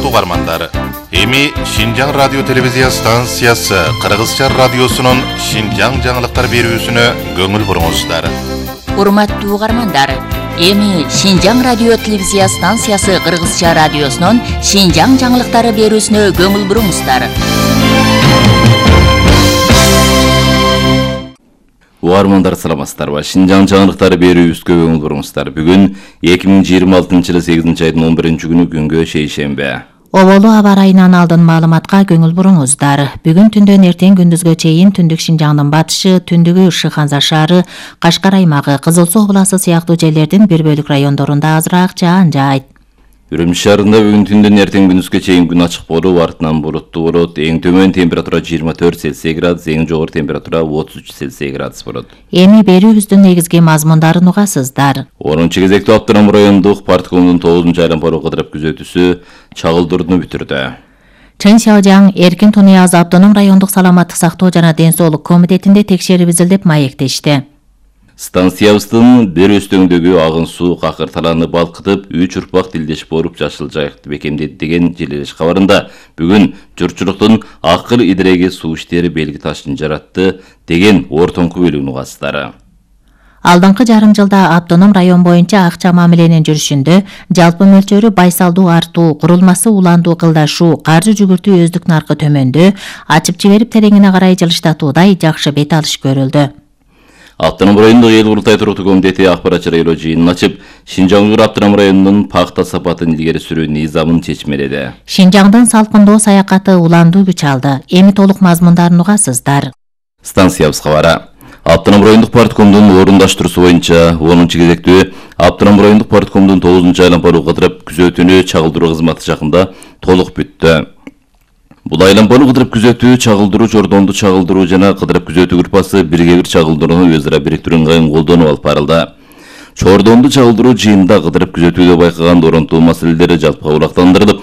урматтуу угармандар, эми Шинжаң радио телевизия станциясы Кыргызча радиосунун Шинжаң жаңылыктар берүүсүнө көңүл буруңуздар. Урматтуу угармандар, эми Шинжаң радио телевизия станциясы Кыргызча радиосунун Шинжаң жаңылыктары берүүсүнө көңүл буруңуздар. Угармандар саламатсыздарбы? Шинжаң жаңылыктары берүүбүзгө көңүл буруңуздар. Бүгүн 2026-жылы 8 айдын 11-күнү күнгө шейшембе. Оболу аба ырайынан алдын маалыматка көңүл буруңуздар. Бүгүн түндөн эртең күндүзгө чейин түндүк Шинжаңдын батышы, түндүгү Шыханза шаары, Кашкар аймагы, Кызыл Суу областы сыяктуу жерлердин бир бөлүк райондорунда азыраак жаан жаайт. Үрүмчү шаарында бүгүн түндөн эртең күндүзгө чейин күн ачык болуп, артынан булуттуу болот. Эң төмөн температура 24 Цельсий градус, эң жогору температура 33 Цельсий градус болот. Эми берүүбүздүн негизги мазмундарын угасыздар. 10 кезектүү Аптанам райондук парткомдун 9 айлампалуу кыдырып күзөтүүсү чагылдырууну бүтүрдү. Чын Шаожаң Эркин Тунияз Автоном райондук саламаттык сактоо жана ден соолук комитетинде текшерибиздил деп маектешти. Станциябыздын бир өстөңдөгү агын суу какыр талааны балкытып, 3 урпак тилдеш болуп жашыл жайыкты бекемдеди деген желелеш кабарында бүгүн журтчулуктун акыл идиреги суу иштери белги ташын жаратты деген ортоңку бөлүгүн угасыздар. Алдыңкы жарым жылда Автоном район боюнча акча мамиленин жүрүшүндө жалпы мөлчөрү байсалдуу артуу, курулмасы уландуу кылдашуу, каржы жүгүртүү өздүк наркы төмөндө, ачып жиберип тереңине карай жылыштатуудай жакшы бет алыш көрүлдү. Автоном райондук эл курултай туруктуу комитети акпаратчы район жыйынын ачып, Шинжаң Автоном районунун пахта сапатын илгери сүрүү низамын чечмеледи. Шинжаңдын салкындоо саякаты уландуу күч алды. Эми толук мазмундарын угасыздар. Станциябыз кабары. Автоном райондук парткомдун орундаштыруусу боюнча 10 кезектүү Автоном райондук парткомдун 9 айлампалуу кыдырып күзөтүүнү чагылдыруу кызматы жакында толук бүттү. Бул айлампалуу кыдырып күзөтүү, чагылдыруу, жордонду чагылдыруу жана кыдырып күзөтүү группасы бирге бир чагылдырууну өз ара бириктирүү ыңгайын колдонуп алып барылды. Чордонду чагылдыруу жыйында кыдырып күзөтүүдө байкаган оронтуу маселелери жалпыга улактандырылып,